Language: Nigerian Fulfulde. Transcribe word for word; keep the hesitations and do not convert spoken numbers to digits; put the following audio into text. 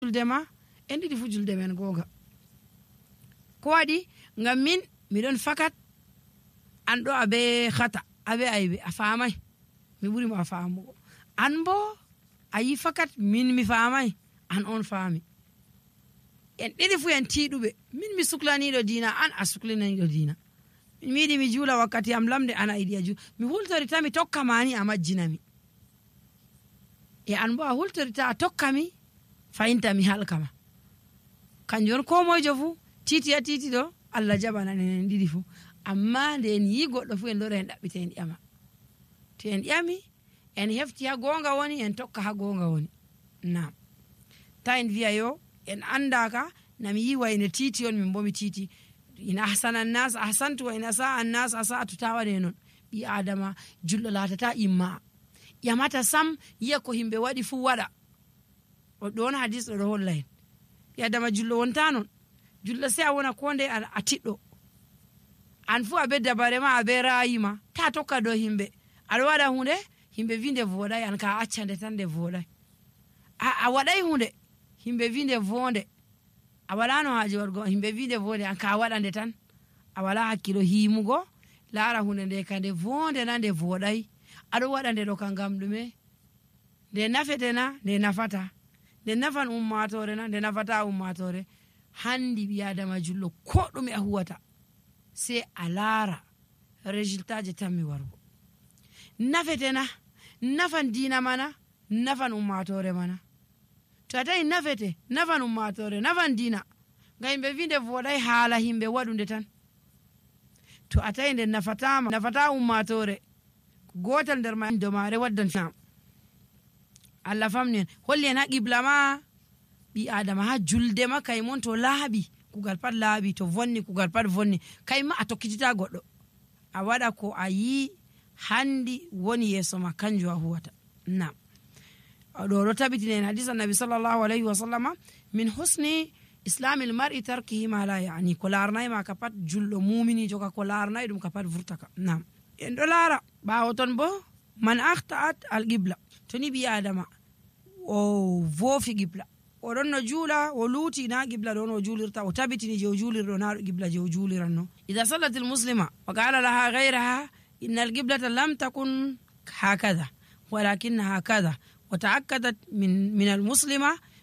julde ma en ɗiɗi fu julde men goga. Ko waɗi ngam min miɗon fakat an ɗo abe khata abe aybe a famai mi ɓuri ma famugo, an bo ayi fakat min mi famai an on fami. En ɗiɗi fu en tiɗuɓe, min mi suklaniɗo dina an a suklaniɗo dina. Min mi yiɗi mi jula wakkati am lamde an a yiɗi a jula. Mi hultorita mi tokka mani a majjinami. E an bo a hultorita a tokka mi fayinta mi halkama. Kanjon ko moyjo fu titi ya titi do Allah jabana en ɗiɗi fu. Amma nde en yi goɗɗo fu en lora en ɗaɓɓita en ƴama. To en ƴami en hefti ha gonga woni en tokka ha gonga woni. Naam. Ta en wiya yo en andaka nami yi wayne titi on min bo mi titi. Ina ahsanan nas ahsantu wa ina sa'a nas asa'atu tawane non. Bi adama julɗo latata imma. Yamata sam yiya ko himɓe waɗi fu waɗa. O ɗon hadis ɗo holla en. Bi adama julɗo wonta non. Julɗo sai a wona ko nde a tiɗɗo. An fu abe dabare ma abe rayima ta tokka do himɓe. Aɗa waɗa hunde himɓe vinde voɗai an ka accande tan de voɗai. A, a waɗai hunde himɓe vinde vonde. A wala no haji wargo himɓe vinde vonde an ka waɗande tan. A wala hakkilo himugo lara hunde nde kande vonde na nde voɗai. Aɗo waɗande ɗo kan ngam ɗume nde nafetena nde nafata. Nde nafan ummatore na nde nafata ummatore. Handi ɓi adama julɗo ko ɗume a huwata sai a lara résultat je tammi wargo. Nafetena nafan dina mana nafan ummatore mana. To a tawi nafete nafan ummatore nafan dina ngam yimɓe wi nde voɗai haala himɓe waɗunde tan. To a tawi nde nafatama nafata ummatore gotal nder ma domare waddan fam. Allah famni en holli en ha qibla ma ɓi adama ha julde ma kay mon to laaɓi kugal pat laaɓi to vonni kugal pat vonni kay ma a tokkitita goɗɗo a waɗa ko a yi handi woni yeso ma kanjum a huwata. Nam ɗo ɗo tabitine en hadisa nabi sallallahu alayhi wa sallama min husni islamil mar'i tarkihi ma la yani ko larnay ma ka pat julɗo muminijo ka ko larnay ɗum ka pat vurtaka. Nam en ɗo lara ɓawo ton bo man ahta'at al qibla to ni ɓi adama o vofi qibla oɗon no juula o luuti na qibla ɗon o juulirta o tabitini je o juulirɗo na ɗo qibla je o juuliranno. Idha sallat al muslima wa qala laha ghayraha inna al qiblata lam takun hakadha walakinna hakadha wa ta'akkadat min min al muslima